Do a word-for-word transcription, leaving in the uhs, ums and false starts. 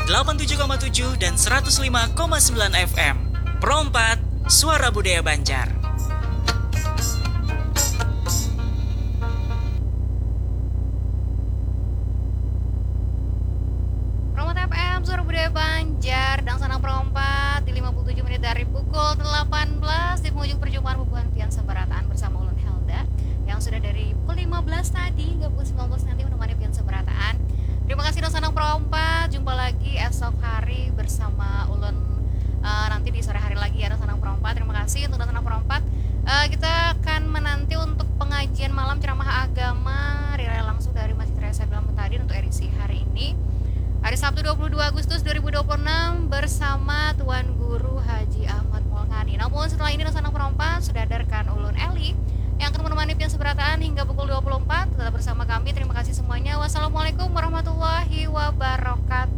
delapan tujuh koma tujuh dan seratus lima koma sembilan F M. Pro empat, Suara Budaya Banjar. Pro empat F M, Suara Budaya Banjar, dan Sanang Pro empat di lima puluh tujuh menit dari pukul delapan belas di penghujung perjumpaan bubuhan pian sabarataan bersama ulun Helda yang sudah dari pukul lima belas tadi hingga pukul sembilan belas nanti menemani pian sabarataan. Terima kasih dan Sanang Pro empat, jumpa lagi esok hari bersama ulun, eh, nanti di sore hari lagi ya, dan Sanang Pro empat. Terima kasih untuk dan Sanang Pro empat. Eh, kita akan menanti untuk pengajian malam ceramah agama relay langsung dari Masjid Raya Sabil Mutadin untuk edisi hari ini. Hari Sabtu dua puluh dua Agustus dua ribu dua puluh enam bersama Tuan Guru Haji Ahmad Mulkani. Namun setelah ini dan Sanang Pro empat sudah hadirkan ulun Eli yang akan menemani pian sabarataan hingga pukul dua puluh empat. Tetap bersama kami. Terima kasih semuanya. Wassalamualaikum warahmatullahi wabarakatuh.